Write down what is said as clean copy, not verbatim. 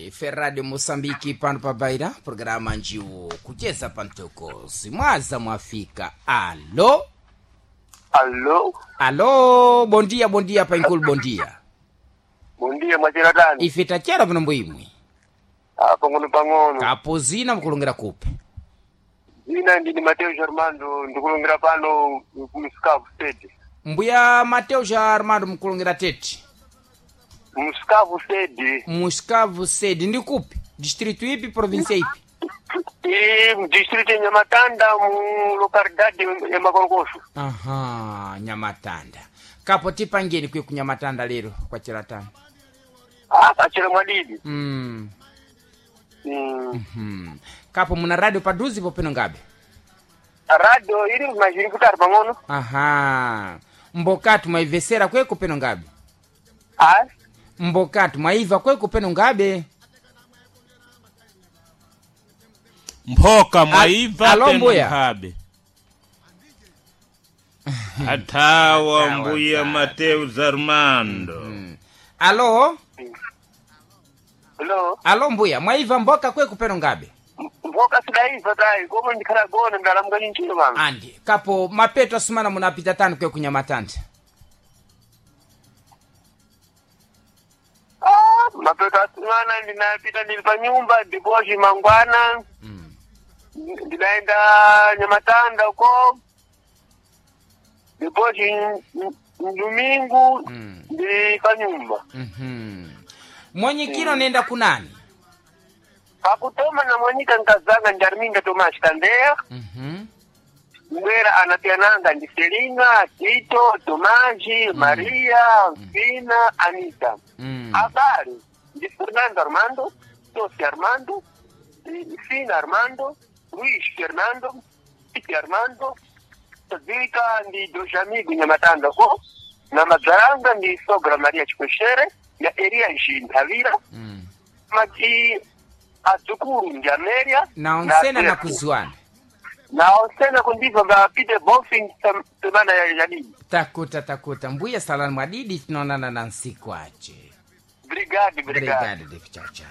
Ife Radio Mosambiki pano pa Baira, programa njiwo kucheza pamtokozi mwaza mwafika. Alo. Allo. Alo, bondia bondia painkulu bondia. Bondia mwachera tani. Ife tachera pano mbwimwi. Ah, pang'ono pang'ono. Kapozina mkulongera kupe. Zina ndini Mateo Armando ndikulongera pano ku State. Mbuya Mateo ja Armando mkulongera tete. Msikavu State. Muscavu sede ndi kupi? Distrito ipi, província ipi? I distrito ya Nyamatanda mu localidade ya Makolokosho. Aha, Nyamatanda. Kapo tipangeni kwe kunyamatanda lero kwa chiratani. Ah, kachera mwadidi. Kapo muna radio paduzi popeno ngabe? Radio ili mazhiri kutari pang'ono. Aha. Mbokatu mwaivesera kweko peno ngabe? Ah, Mbokatu mwaiva kweko peno ngabe? Mphoka mwaiva Alo, peno mbuya. nkhabe. Athawa mbuya Mateus Armando. Alo? hello. Alo mbuya, mwaiva mboka kweko peno ngabe? Mboka sidaiva tai, komo ndikhala gona ndalamuka chinchino pano. Andi, kapo mapeto asumana munapita tani kwe kunyamatanda. Ah, mapeto asimana ndinapita ndili pa nyumba ndipochi mangwana. Ndinaenda Nyamatanda uko ndipochi mdumingu ndi pa nyumba. Mwanyikiro nenda kunani? Pakutoma na mwanyika nkazanga ndi Arminda Tomas Kandeya. Mbwera anapiananga ndi Selina, Tito, Tomaji, Maria, Fina, Anita. Habari ndi Fernando Armando, Tosi Armando, Fina Armando, Luis Fernando, Titi Armando, Vika ndi Dojamigo Nyamatanda ko na madzaranga ndi Sogra Maria Chikweshere na Eria Jinthavira. Mati adzukuru ndi Amelia Na onsena na Alberto. kuzuana. Na onsena kundibva nga Peter Bonfin semana ya yadidi. Takuta takuta mbuya salani mwadidi tunaonana na nsiku ache. Brigade, brigade. Brigade de chao chao.